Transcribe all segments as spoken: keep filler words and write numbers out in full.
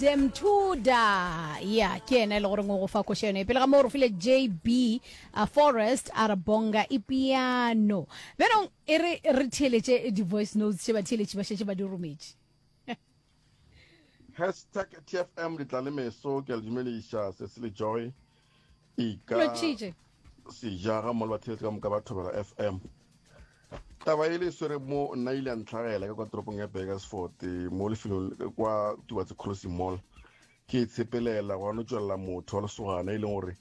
Demtuda ya ke yena e le goreng o go fa koša yone pele ga moo re file J B uh, Forest a re bonga e piano. Bjanong e re re theeletše di-voice notes tše batheeletši ba šetše ba di rometše. Hashtag T F M ditlalemeso, ke a le dumediša. Sesi le Joy e ka Lotšhitše. Seja ga mmogo le batheeletši ka moka ba Thobela F M. Taba e le swere mo nna ile ya ntlhagela ka kwa toropong ya Burgersfort, mo lefelong kwa Tubatse Crossing Mall. Ke tshepelela gwa no tswelela motho wa lesogana e leng gore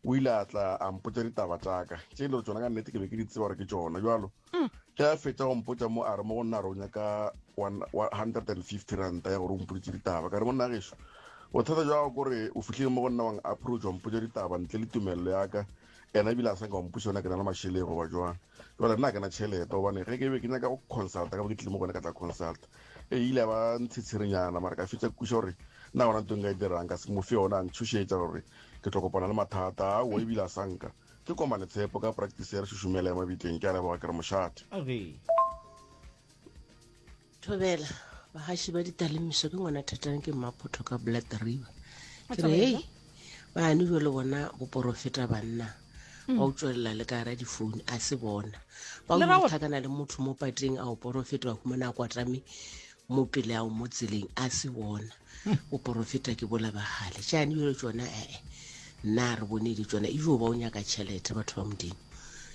o ile a tla a mpotša ditaba tšaka tše e le gore tsona ka nnete ke be ke di tseba gore ke tšona. Jalo ge a fetša go mpotša mo, a re mo go nna, a re o nyaka one hundred and fifty ranta ya gore o mpoditše ditaba. Ka re, monna gešo, bothata jwa gago kore o fihlile mo go nna, wang approach, wa mpotša ditaba ntle le tumelelo ya ka. Ena ebile a sa nka wa mpotša yona ke na le mašeleng goba jwang. Jale nna ke na tšhelete, gobane ge ke be ke nyaka go consulta ka bo ke tlile mo gone ka tla consulta. E ile ya ba ntshetshirenyana, mara ka fetša kuša gore nna gona ntho nka e dirang ka se mo fe yona, a ntšhošetša gore ke tlo kopana le mathata ao. Ebile a sanka ke komane tshepo ka practice ya re šošomela ya mabitleng. Ke a leboga, ke re mošate. Age. Thobela bagaši ba ditalemiso, ke ngwana thatang, ke Mmaphotho ka Blood River. Ke re hei, bane jalo bona boporofeta banna ba o tswelela le ka gara difounu, a se bona ba Le ra o gore- tlhakana le motho mo pateng a o porofeta, wa humana a kwatame mo pele ao mo tseleng, a se bona boporofeta ke bola bagale tšane jalo tsona. Ee, nna re bone le tsona ejo ba o nyaka tšhelete, batho ba Modimo.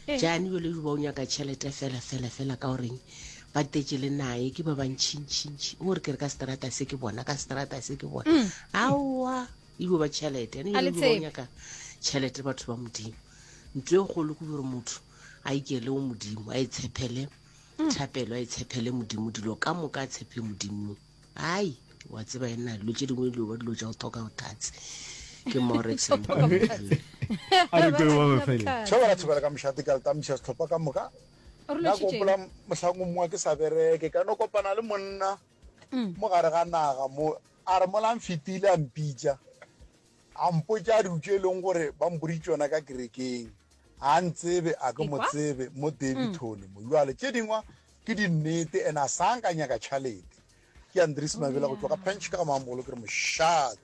Eh. Jane jale ejo ba o nyaka tšhelete fela fela fela, ka goreng ba tetse le naye ke ba bantšhintšhintšhi, o re ke re ka seterata se ke bona, ka seterata se ke bona, aowa, ejo ba tšhelete ane A le jale ejo ba o tsebe. nyaka tšhelete, batho ba Modimo. Ntho e kgolo ke gore motho a ikele o Modimo, a e tshepele thapelo, a e tshepele Modimo, dilo ka moka a tshepe Modimo. Ai, wa tseba ena dilo tše dingwe dilo ba dilo tša go thoka botatse ke morex. A re kwe ba bafele. Thobela, thobela ka mošate, ka letamiša sehlopha ka moka. Re Nna ke lotšhitše. gopola mohlang o mongwe ke sa bereke, ka no kopana le monna mo gare ga naga mo, a re mola mfetile a mpitša, a mpotša dilo tše e leng gore ba mpoditše yona ka kerekeng, a ntsebe a ke mo Ekwa? tsebe mo Davidton mo. Jwale tše dingwe ke dinnete, and a sa nka nyaka tšhalete. Ke Andries Mabela go tšwa ka Pench ka ga Mamogolo, ke re mošate.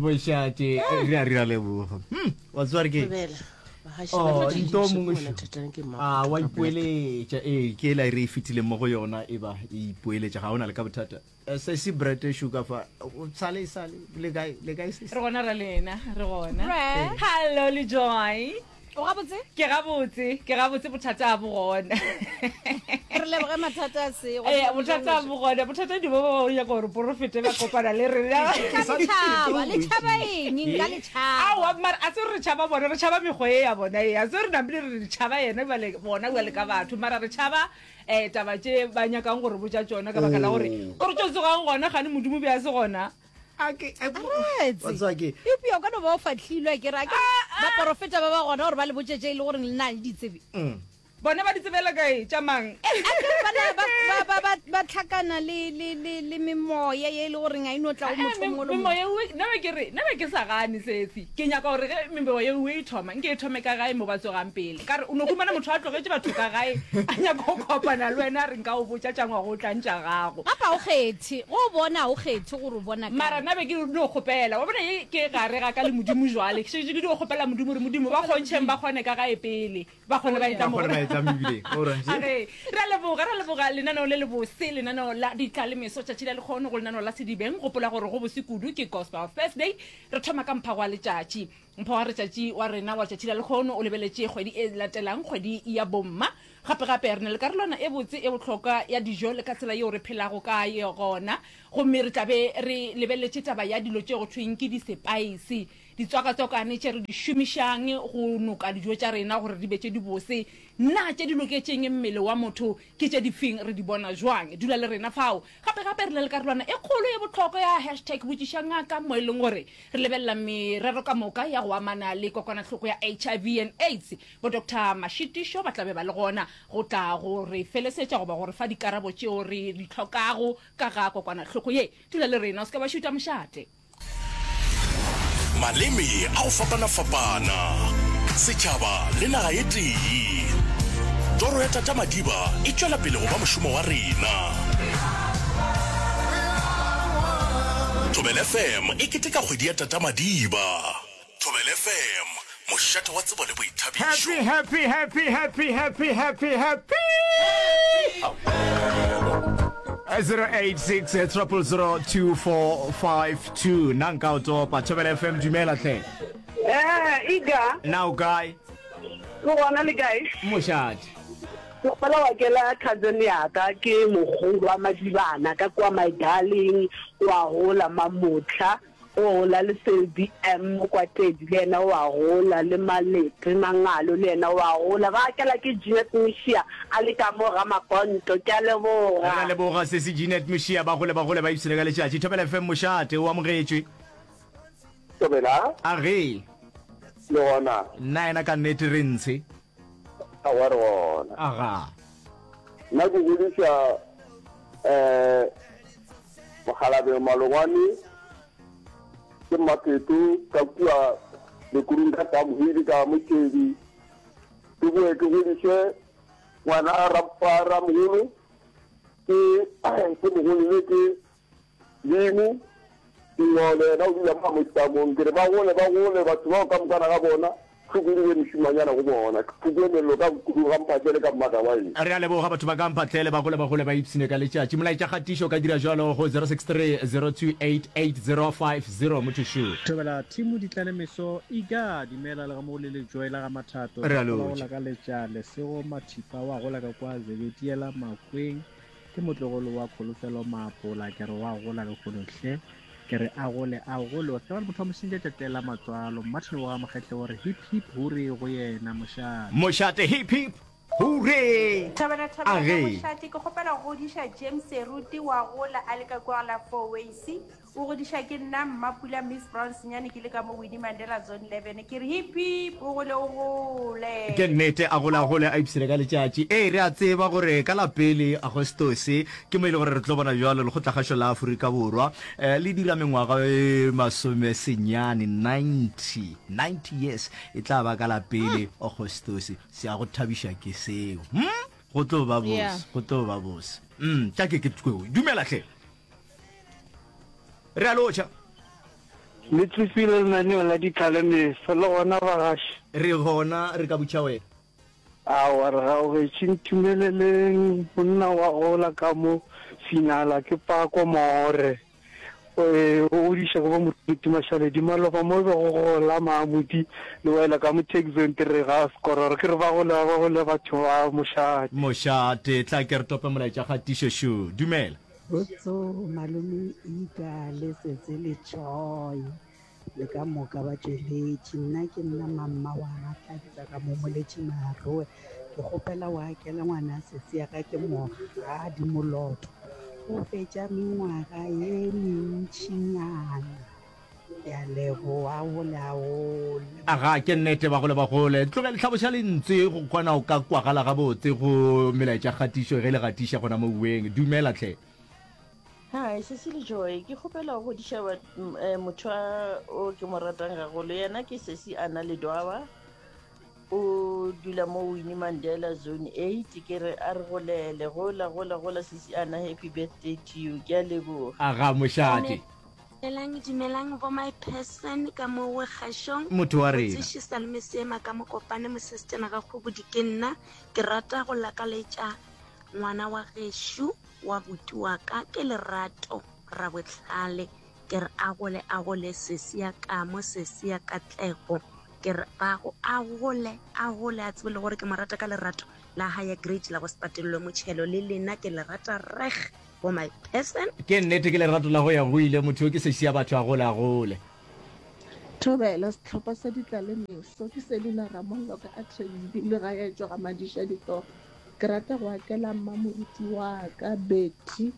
Mošate, re a re a leboga. Hmm, wa tseba re ke Thobela bagaši ba Oh, ditalemiso, nto ke mongwe ngwana šo. thatang, ke A Mmaphotho wa ka Blood ipoeletša, ee, ke ela e re e fetileng mo go yona, e ba e ipoeletša, ga o na le ka bothata. Eh, sesi Brett Sugar fa o sale sale le kae, le kae sesi? Re gona, ra lena re gona. Bre. Hallo le Joy. O gabotse? Ke gabotse, ke gabotse, bothata a bo gona. Re leboge mathata a se. Ee, bothata a bo gona, bothata di bo ba ba nyaka gore porofete ba kopana le rena. Ka le tšhaba, le tšhaba eng? Nka le tšhaba. Aowa, mara a se re re tšhaba bona, re tšhaba mekgwa e ya bona e, a se re namile re re tšhaba yena bjale bona bjale ka batho, mara re tšhaba um taba tše ba nyakang gore botša tšona, ka baka la gore o re tšo tsogang gona gane Modimo be a se gona. A ke Aretse. wa tseba ke Eupša o ka no ba o fahlilwe, ke re a ke baporofeta ba ba gona gore ba le botše tše e le gore le na le ditsebe. Bona ba di tsebela kae tša mang? A ke re bana ba ba ba ba ba tlhakana le le le le memoya ye e le goreng a ino tla go motho o mongwe le o mongwe. Memoya ewe nna be ke re, nna be ke sa gane sesi, ke nyaka gore ge memoya ewe e thoma, nke e thome ka gae mo ba tsogang pele. Ka re o no humana motho a tlogetše batho ka gae, a nyaka go kopana le wena, a re nka o botša tša ngwaga o tlang tša gago. Gape ga o kgethe go o bona, ga o kgethe gore o bona mara kae. Nna be ke dio kgopela, wa bona ye ke gare ga ka le Modimo, jwale ke šetše ke dio kgopela Modimo gore Modimo ba kgontšheng ba kgone ka gae pele ba kgone ba etla ba mo kgone ba etla mebileng. Alright. Age, re a leboga, re a leboga lenaneo le lebose, lenaneo la ditlalemeso tšatši la lekgono go lenaneo la Sedibeng. Gopola gore go bose kudu ke Gospel Thursday. Re thoma ka mphago wa letšatši. Mpho wa letšatši wa rena wa letšatši la lekgono o lebeletše kgwedi e latelang, kgwedi ya bomma. Gape gape re na le karolwana e botse e bohlokwa ya dijo le ka tsela yeo re phelago ka gona, gomme re tla be re lebeletše taba ya dilo tše go thweng ke disepaese, ditswakatswakane tše re di šomišang go noka dijo tša rena gore di be tše dibose. Na tše di loketšeng mmele wa motho ke tše difeng, re di bona jwang? Dula le rena fao. Gape gape re na le karolwana e kgolo e bohlokwa ya hashtag botšiša ngaka, mo e leng gore re lebelela merero ka moka ya go amana le kokwanahloko ya H I V and AIDS. Bo Doctor Mashitišo ba tla be ba le gona go tla go re felesetša goba go re fa dikarabo tšeo re di hlokago ka ga kokwanahloko ye. Dula le rena, o se ke wa šuta mošate. Maleme a go fapana-fapana, setšhaba le naga e tee. Toro ya Tata Madiba e tšwela pele go ba mošomo wa rena. Thobela F M e keteka kgwedi ya Tata Madiba. Thobela F M, mošate wa tsebo le boithabišo. Happy happy happy happy happy happy happy zero eight six triple zero two four five two. Nna nka o topa. Thobela F M, dumela hle. Eh, Iga. Na o kae? Ke gona, le kae? Mošate. Ke kgopela wa kela cousin ya ka, ke mogolo wa Madibana ka kwa, my darling, wa gola Mamotlha, o gola le Selby M kwa Tedi, le yena wa gola le Malete Mangalo, le yena wa gola. Ba kela ke Jeanette Mishia a le ka mo ga Makonto. Ke a Re a leboga. leboga sesi Jeanette Mishia, ba gole ba gole ba ipshine ka letšatši. Thobela F M, mošate, o amogetšwe. Thobela. A ge. Le gona. Nna yena ka nnete re ntshe. Aowa re gona. Aga. Nna ke godiša um Mokgalabeng Malongwane ke Mmapeto ka kua Lekurung ka Tamhwili ka Motšedi. Ke boe ke godiše ngwana Ramogolo ke ke mogolo le ke Dimo Dingole, yena o dula mo Motamong. Ke re ba gole ba gole batho bao ka mokana ga bona, tlhoko di be mešumanyana go bona. Tlhoko e mello ka kudu ga Mphahlele ka Mmagabaeng. Re a leboga batho ba ka Mphahlele, ba gole ba gole ba ipshine ka letšatši. Molaetša kgatišo o ka dira jwalo go zero six three zero two eight eight zero five zero motho šo. Thobela team Ditlalemeso Iga dumela le ga mo le Lejoe la ga Mathato. Re a Ke lotšha. gola ka letša Lesego Mathipa wa gola ka kwa Zebediela Makweng, ke motlogolo wa Kholofelo Maapola, ke re wa gola lehono hle, ke re a gole a gole o se ba le motho wa mosenja tšatši la matswalo. Martin wa Mokgetle o re hip hip hurray go yena, mošate. Mošate, hip hip hurray. Thobela thobela ka Age. mošate, ke kgopela go godiša James Seruti wa gola a le ka kua la Four Ways, o godiša ke nna Mmapula Miss Brown Senyane, ke le ka mo Winnie Mandela Zone eleven, ke re hip hip o gole o gole. Ke nnete, a gole a gole a ipshine ka letšatši. Ee, re a tseba gore ka la pele Agostose ke mo e le gore re tlo bona bjalo Lekgotlakgašo la Afrika Borwa um le dira mengwaga e masome senyane ninety, ninety years e tla ba ka la pele Agostose. Se a go thabiša ke seo. Hm? Go tlo ba bose, Yeah. go tlo ba bose. Mm, tša ke ke dumela hle. Re a lotšha. Le tsepile lenaneo la Ditlalemeso le gona bagaši? Re gona, re ka butša wena. Aowa re gaogetše, ntumeleleng monna wa gola ka mo finala ke Pako More. O godiša ke bo Moruti Mašaledi maloba mo be go gola Maamudi le wela ka mo Taxon tire ga Skororo, ke re ba gole ba gole batho ba mošate. Mošate, tla ke re tope molaetša kgatišo šo. Dumela. Botso malome Ika le Setse le Joy le ka moka ba tšweletši. Nna ke nna mamma wa Tlabisa ka mo Moletši Maroe. Ke kgopela wa akela ngwana sesi ya ka ke Mogadi Moloto. O fetša mengwaga ye mentšinyana. Ke a leboga gole a gole. Aga, ke nnete, bagolo ba gole. Tlogel hlaboša lentswe go kwana o ka kwagala gabotse go melaetša kgatišo ge le gatiša gona mo uweng. Dumela hle. Hi, Sesi le Joy, ke kgopela go godiša motho o ke mo ratang gagolo, yena ke Sesi Ana Ledwaba, o dula mo Winnie Mandela Zone eight, ke re a re golele, gola gola gola Sesi Ana, happy birthday to you, ke a leboga. Aga, mošate. Dumelang, dumelang bo my person ka mo go kgašong. Motho wa rena. Motseši Salome Seema ka Mokopane mosestena ga Kgobodi ke nna. Ke rata go lakaletša ngwana wa gešo wa buti wa ka ke Lerato Rabohlale. Ke re a gole a gole sesi ya kamo sesi ya katlego. Ke re ba go a gole a gole a tsebe le gore ke mo rata ka lerato la higher grade la go se patelelwe motšhelo, le lena ke le rata reg for my person. Ke nnete, ke lerato la go ya go ile, motho yo ke sesi ya batho a gole a gole. Thobela sehlopha sa Ditlalemeso, ke Selina Ramollo ka Atteridgeville ga ya tšwa ga Madiša Ditoro. Ke rata go akela mmamoruti wa ka Betty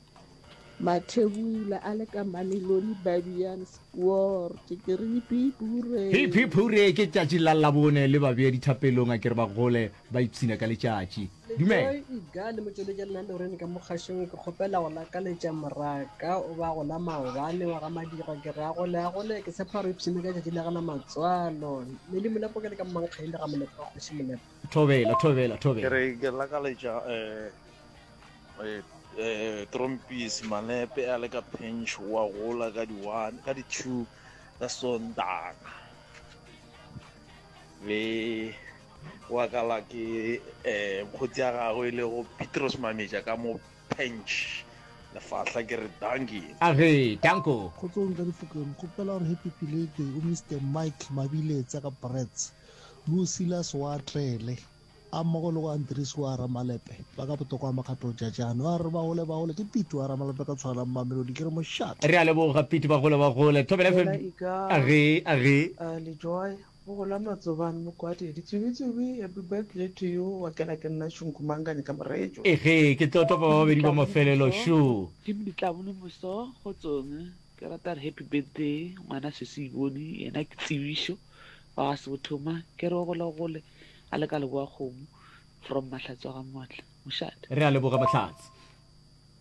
Mathebula a le ka Mamelodi Babian Sport. Ke re hip hip hooray. Hip hip hooray, ke tšatši la Labone le ba bea dithapelong, a ke re ba gole ba ipshina ka letšatši. Dumela. Lejoe Iga le motšweletši lena Lorraine ka mo kgašong, ke kgopela go lakaletša moraka o ba gola maobane wa ga Madira, ke re a gole a gole, ke tshepa gore ipshine ka tšatši la gana matswalo. Mele Molepo ke le ka Mmankgaile ga Molepo wa Kgoši Molepo. Thobela, thobela, thobela. Ke re ke lakaletša eh, eh, eh Trompies Malepe a le ka Pinch wa gola ka di one ka di two ka Sontaga le wa kala ke eh mokgotsi ya gagwe e lego Petros Mametja ka mo Pinch lefahla ke re dankie. Age, danko. Kgotsong ka difokeng kgopela gore happy birthday go Mister Mike Mabiletsa ka Brits le o Silas wa Tlele a mmogo le go Andries wa Ramalepe ba ka botokwa makgatlo Jajane ba re ba gole ba gole ke Pete wa Ramalepe ka tshwana Mamelodi ke re mošate. Re a leboga Pete ba gole ba gole. Thobela Thobela F M. Ika. Age, age. Uh, le Joy, go gola Matsobane Mokwadi, ditsubi-tsubi, happy birthday to you, wa kela ke nna Shunku Mangane ka Moretšo. Ege, ke tlo topa ba babedi ba mafelelo, šo. Team Ditlabone moso, kgotsong. Ke rata re happy birthday ngwana sesi Ibone, yena ke Tsebišo wa ga Sebothoma, ke re o gole o gole a le ka leboa kgomo from Mahlatse wa ga Moatla. Mošate. Re a leboga Mahlatse.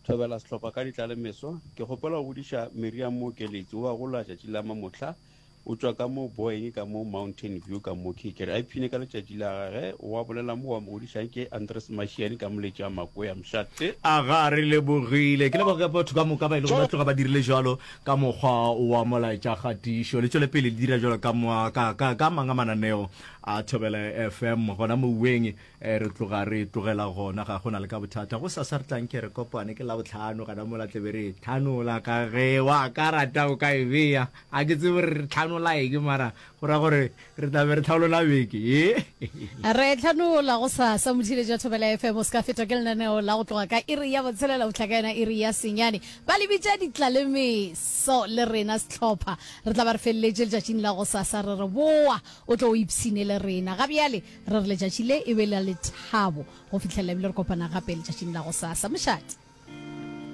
Thobela sehlopha ka ditlalemeso. Ke kgopela go godiša Miriam Mokeletsi o a gola tšatši la mamohla. O tšwa ka mo Boeing ka mo Mountain View ka mo Ke re a ipshine ka letšatši la gage. Wa bolela mo wa mo godišang ke Andres Mashiane ka moletši a Makoya Mošate. Aga re lebogile. Ke leboga batho ka moka ba e lego ba tloga ba dirile jwalo ka mokgwa wa molaetšakgatišo. Le tšwele pele le dira jwalo ka ka, ka, ka mang a mananeo a Thobela F M gona mouweng. Eh, re tloga re tlogela gona, ga gona le ka bothata. Go sasa re tlang ke re kopane ke Labohlano gana mola tlebe re tlhanola ka ge wa ka rata o ka e bea. A ke tsebe re tlhanola eng mara go ra gore re tla be re tlhalola beke ye. Re tlhanola go sasa motheeletši wa Thobela F M o se ka fetwa ke lenaneo la go tloga ka iri ya botshelela go fihla ka yona iri ya senyane. Ba le bitša ditlalemeso le rena sehlopha. Re tla ba re feleletše letšatšing la go sasa re re boa o tlo o ipshine le rena. Ga bjale re re letšatši le e be la lethabo go fihlela ebile re kopana gape letšatšing la go sasa. Mošate.